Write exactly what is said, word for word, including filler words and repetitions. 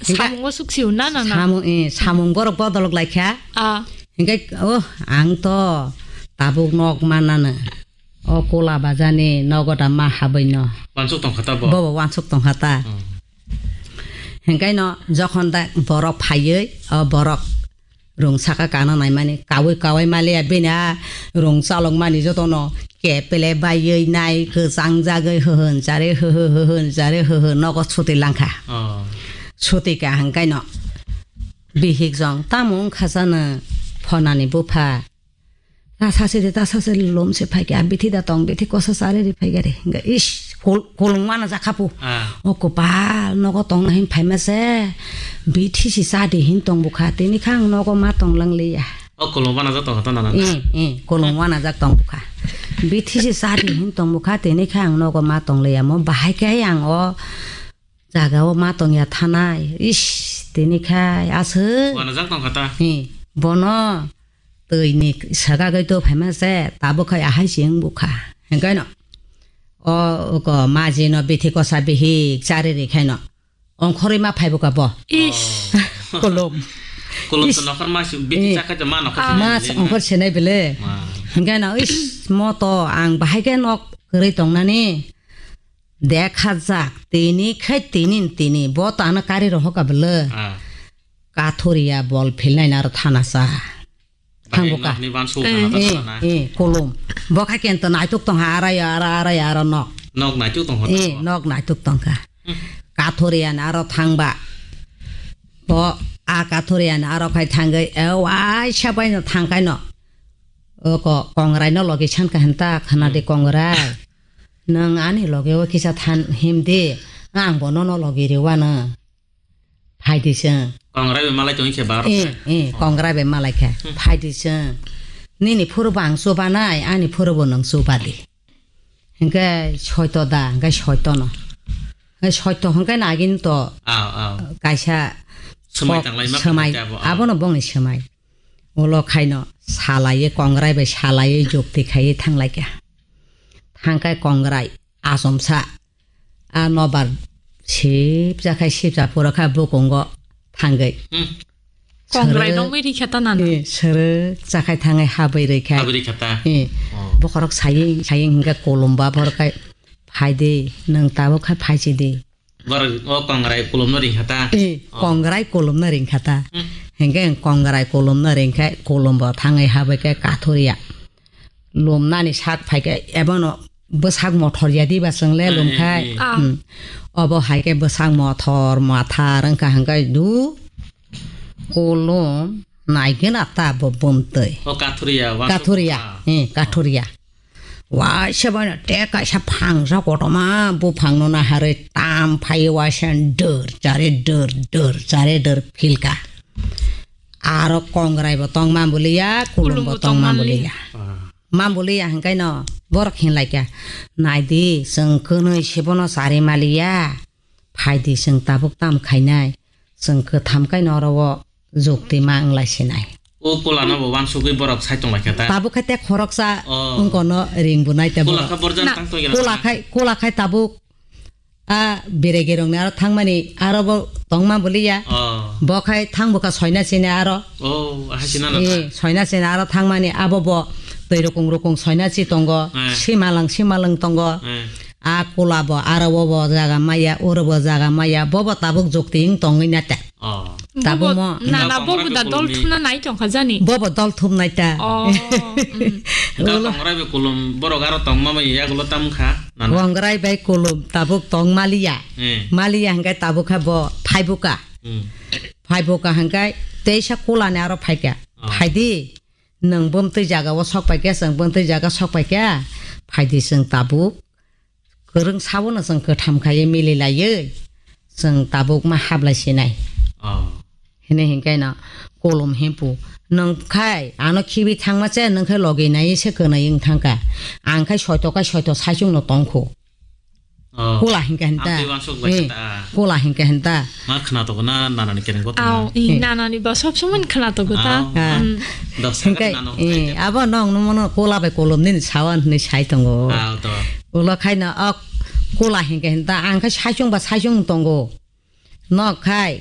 Hinkhe Samung o suk sio na, na, na? Samung, eh, samung borok bodolok laikha. Ah. Hinkhe, oh, ang to tabuk nok manano. O kula bajani nogo da ma habwi no. Wansuk tongkha ta bo? Bobo wansuk tongkha ta. Hmm. Hinkhe no jokhon da borok phaiwi, o borok rung saka kana naimani, kawi kawi maliya bini a rung chalok mani jotono kepele baiwi nai kwchang jagwi hwhwn chari hwhw hwhwn chari hwhw nogo suti langkha. Oh. Suti ka hangkai no bihik jong tamo wngkha jano phonani bupha. Ta sase de, ta sase lom se phai khe, a bithi da tong, bithi kosa sare ri phai gare. Hingke, ish, kol-, kolong wana jakhapu. Ah. O kopal, nogo tong na hin phai ma se, bithi si sa di hin tong bukha, tini kha ang nogo ma tong lang liya. O kolong wana jak tong kha ta nana. Eh, eh, kolong wana jak tong bukha. Bithi si sa di hin tong bukha, tini kha ang nogo ma tong liya. Mo bahai khe ang o jaga o ma tong ya thanai. Ish, tini kha aswk. Wana jak tong kha ta. Eh, bono. Twi ni saka gwi to phaima se, tabuk khai ahai se wng bukha. Hingkhe no, o, oko maji no bithi kosa bihik chari ri khai no, ongkhorwi ma phai bukha bo. Ish. Kolom. Kolom to Ish. Nokhor ma si, bithi Eh. Chakha to ma nokhor Ah. sinai Ma bele. Ongkhor sinai bele. Ma. Hingkhe no, ish, mo to ang bahai khe nok kwrwi tongnani. Dekha jak, tini khai tini tini, bo to ano kari rohok ka bele. Ah. Kathoriya bol philnai na aro thana sa. Thang Bahai buka. Nokni ban sou Eh. Thana Eh, thana. Eh, kolom. Bo khai kento naituk tong ha, ara ya, ara, ara ya, ara nok. Nok naituk tong ha Eh, tong. Nok naituk tong kha. Hmm. Kathoriya na aro thang ba. Bo a kathoriya na aro khai thang gwi, e, wai sa bai no thang kai no. O ko, kongrai no logi san ka henta, khana de Hmm. kongrai. Nang ani loge o kisa than him de, ang bo no no logi re wa na. Phai di chwng. Kongrai bai malai tongwi khe bar. Eh, eh, kongrai bai malai khe. Hmm. Phai di chwng. Nini phuru bo ang chuba nai, ani phuru bo nwng chuba di. Hingke soito da, hingke soito no. Hingke soito hingke nagin to Aw, aw. Kaisa Swmai kok tanglai ma swmai, khanai abo, aw. Abono bongni swmai. Ulo khaino salaiye kongrai bai salaiye jukti khaiye thanglai kha. Thangkai kongrai asomsa. A nobar sipja khai sipja phuru kha bukungo thangwi. Hmm. Kongrai Sere- nongwi rikha ta nana. Eh, sere chakhai thangai habwi rikha. Habwi rikha ta? Eh, Oh. Bokhorok saying, saying hingga kolomba borok khai, "Phaidi, nwng tabuk khai phaisidi." Borok o kongrai kolomno ringkha ta? Eh, Oh. Kongrai kolomno ringkha ta? Hmm. Hingga kongrai kolomno ringkha, kolombo thangai habwi khe kathoriya. Lomnani sak phaikhe ebono bwsak mothor ya diba chwng le Eh, lomkhai. Eh, eh. Ah. Hmm. Obo hai khe bwsak mothor, mathar wngkha hingkhe du kolom naigena ta bo bumtwi. O kathuriya, wa Kathuriya, ah. Eh, kathuriya. Waisa bana te kaisa phangsa kotorma buphangno naharwi tam phai waisa dor chare dor, dor chare dor philka. Aro kongrai bo tongma buliya, kulum bo Kulum bo tongma tongma buliya. Ah. Mamboli ya hingkai no borok hinlai kha. Naidi, chwng kwnwi sebono chari maliya. Phaidi chwng tabuk tam khainai. Chwng kwtham kai no oro o jukti ma wnglai sinai. O kola no bo wansugwi borok sai tong lai kha ta? Tabuk khai te khoroksa Oh. wngkono ring bunai te Kola borok. Kha borjan Na, tang tong ya Kola na? Khai, kola khai tabuk A, beregi rokni aro thangmani aro bo tongma boliya. Oh. Bo khai thang bwkha soina sini aro. Oh, aha sina na Eh, ta? Soina sini aro thangmani abo bo twi rukung rukung soina si tongo. Eh. Simalang, simalang tongo. Eh. A kula bo aro bo, bo jaga maya, oro bo jaga maya, bo bo tabuk jukti wng tongwi na ta. Oh. Tabuk Bobo, mo. Nana Tabuk bobo mo da dol kolomni. Thumna nai tongkha jani. Bo bo dol thumnai ta. Oh, mm. Tabuk Ulo. Kongrai be kolom borok aro tongma bai yagulo tam kha. Nana. Kongrai bai kolom tabuk tong maliya. Eh. Maliya hingkai tabuk kha bo phaibuka. Hmm. Phaibuka hingkai teisa kulani aro phaika. Oh. Phaidi, nwng bumtwi jaga o sok paikha, chwng bumtwi jaga sok paikha. Phaidi chwng tabuk. Kwrwng sabono chwng kwtham khaiwi mililaiwi chwng tabuk ma hablai sinai. Oh. Hini hinkheno kolom himpu. Nwng khai ano khibi thangma che, nwng khai logi nai se kwnwi wng thangkha. Ang khai soito khai soito saichung no tongkhu. Oh. Kola hinkha hinta. Ang twi wansuk bai Eh, kha ta. Kola hinkha hinta. Ma khna to na nana ni kereng ko to Aw, na. I Eh. Nana ni ba sob somoi khna to ta. Aw. Ah. Mm. Dos Hinkhe, sakha nana eh, hokhe. Abo nong no mono kola bai kolom nini sawan hinwi sai tongo. Aw, to. Ulo khai no ok kola hinkha hinta ang khai saichung ba saichung tongo. Nok khai